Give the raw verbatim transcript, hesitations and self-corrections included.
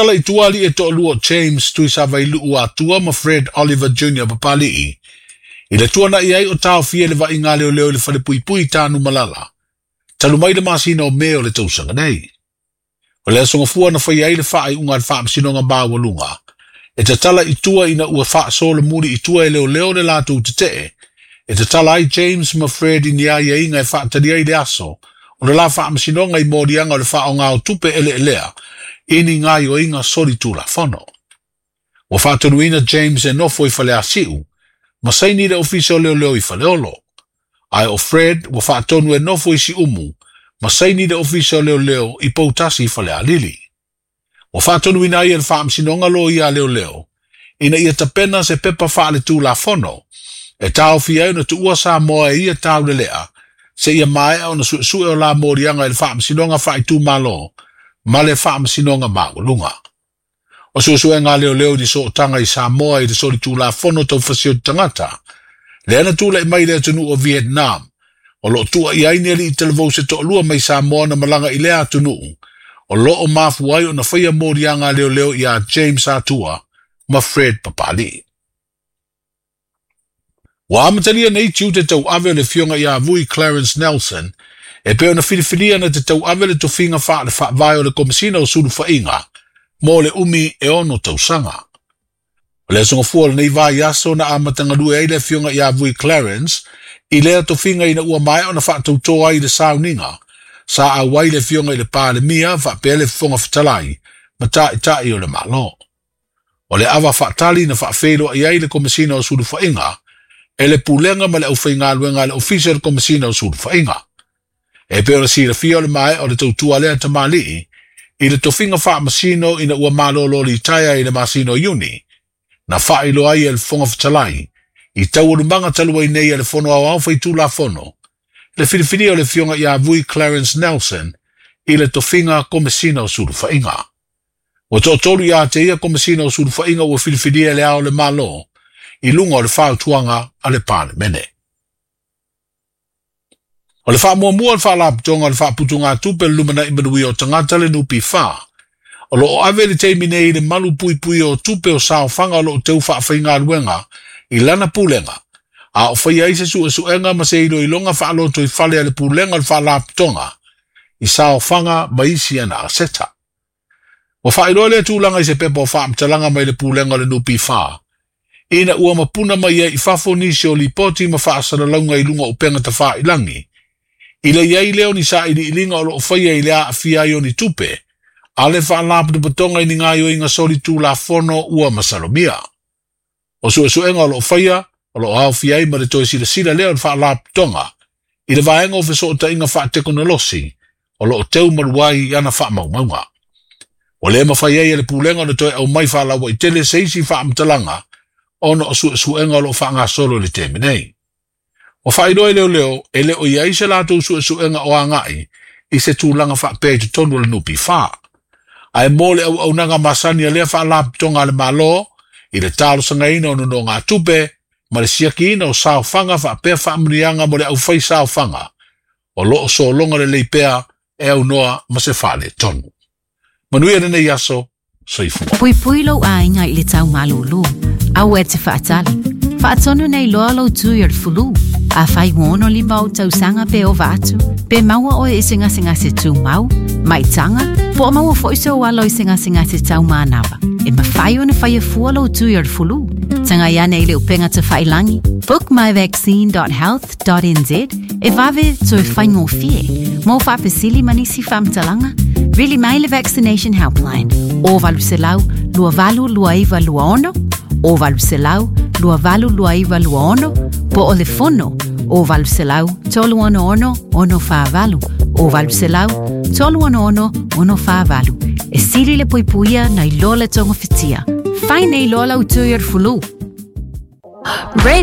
tatala i tua alii e toalua o James Tuisavailuu Atua ma Fred Oliver Junior Papalii, i le tuanai ai o taofia e le vaaiga a leoleo i le falepuipui i Tanumalala, talu mai le masina o Me o le tausaga nei. O le aso Gafua na faia ai le faaiuga a le Faamasinoga Maualuga e tatala i tua ina ua faasolomuli i tua e leoleo le latou tetee e tatala ai James ma Fred i ni aiaiga e faatali ai le aso o le la faamasinoga i moliaga o le faaaoga o tupe eleelea i ni gaoioiga solitulafono. Ua faatonuina James e nofo i Faleasiu ma saini i le Ofisa o Leoleo i Faleolo, ae o Fred ua faatonu e nofo i Siumu ma saini i le Ofisa o Leoleo i Poutasi i Falealili. Ua faatonuina ai e le Faamasinoga loia a leoleo ina ia tapena se pepa faaletulafono e taofia ai ona tuua Samoa e ia taulelea seia maea ona suesue o la moliaga i le Faamasinoga Faaitumalo ma le Faamasinoga Maualuga. O suesuega a leoleo i ni sootaga i Samoa i le solitulafono tau fasioti tagata, lea na tulai mai i le atunuu o Vietnam, o lo o tua i ai ni alii talavou se toalua mai Samoa na malaga i lea atunuu, o lo o mafua ai ona faia moliaga a leoleo ia James Atua ma Fred Papalii. Ua amatalia nei tiute tauave o le Afioga ia Vui Clarence Nelson e pei ona filifilia na te tauave le tofiga faale-faavae o le Komesina o Sulufaiga mo le umi e ono tausaga. O le aso Gafua o lenei vaiaso na amata galue ai le Afioga ia Vui Clarence i lea tofiga ina ua maea ona faatauto ai i le sauniga sa auai le Afioga i le Palemia faapea le Fofoga Fetalai ma Taitai o le Malo. O le ava faatali na faafeiloai ai le Komesina o Sulufaiga e le Pulega ma le aufaigaluega a le Ofisa o le Komesina o Sulufaiga. E pei ona silafia o le maea o le tautua a lea tamalii i le tofiga faamasino ina ua malolo litaea i le masina o Iuni, na faailoa ai e le Fofoga Fetalai i taualumaga talu ai nei a le Fono Aoao Faitulafono le filifilia o le Afioga ia Vui Clarence Nelson i le tofiga Komesina o Sulufaiga. Ua toatolu ia te ia Komesina o Sulufaiga ua filifilia e Le Ao o le Malo i luga o le fautuaga a le Palemene. O le faamuamua a le Faalapotopotoga o le Faaputugatupe o le Lumanai Manuia o Tagata le N P F, o lo o ave i le taimi nei i le malu puipuia o tupe o saofaga o lo o teu faafaigaluega i lana pulega, a o faia ai se suesuega ma se iloiloga faalotoifale a le pulega o le Faalapotopotoga i saofaga ma isi ana aseta. Ua faailoa lea tulaga i se pepa o faamatalaga mai le pulega o le N P F, ina ua mapuna mai ai i fafo nisi o lipoti ma faasalalauga i luga o upega tafailagi, i le iai lea o ni sailiiliga o lo o faia i le aafia ai o ni tupe, a le Faalapotopotoga i ni gaoioiga solitulafono ua masalomia. O suesuega o lo o faia, o lo o aofia ai ma le toe silasila lea o le Faalapotopotoga i le vaega o fesootaiga faatekonolosi o lo o teu malu ai i ana faamaumauga. Ua le mafai ai e le pulega ona toe aumai faalauaitele se isi faamatalaga ona o suesuega o lo o faagasolo i le taimi nei. Ua faailoa e leoleo e le o i ai se latou suesuega o agai i se tulaga faapea i totonu o le N P F. Ae mo le auaunaga masani a lea Faalapotopotoga a le Malo i le talosagaina o nonogatupe ma le siakiina o saofaga faapea faamanuiaga mo le aufai saofaga o lo o sologa lelei pea e aunoa ma se faaletonu. Manuia lenei aso, soifua. Puipui lou aiga i le tau malūlū. Aua e te faatali. Faatonu nei loa lou tui o le fulu. Afai ua ono lima ou tausaga pe ova atu, pe maua oe i se gasegase tumau, maitaga, po o maua foi sou alo i se gasegase taumanava. E mafai ona faia fua lou tui o le fulu. Tagai ane i le upega tafailagi, book my vaccine dot health dot n z e vave toe faigofie. Mo faafesili ma nisi faamatalaga, vili mai le Vaccination Helpline o valu selau lua valu lua iva lua ono, o valu selau lua valu lua iva lua ono, po o le fono o valu selau tolu ono ono ono whaavalu, o valu selau tolu ono ono ono whaavalu. E sili le puipuia nei loa le tonga fitia. Fai nei loa lau tui o le fulu. Red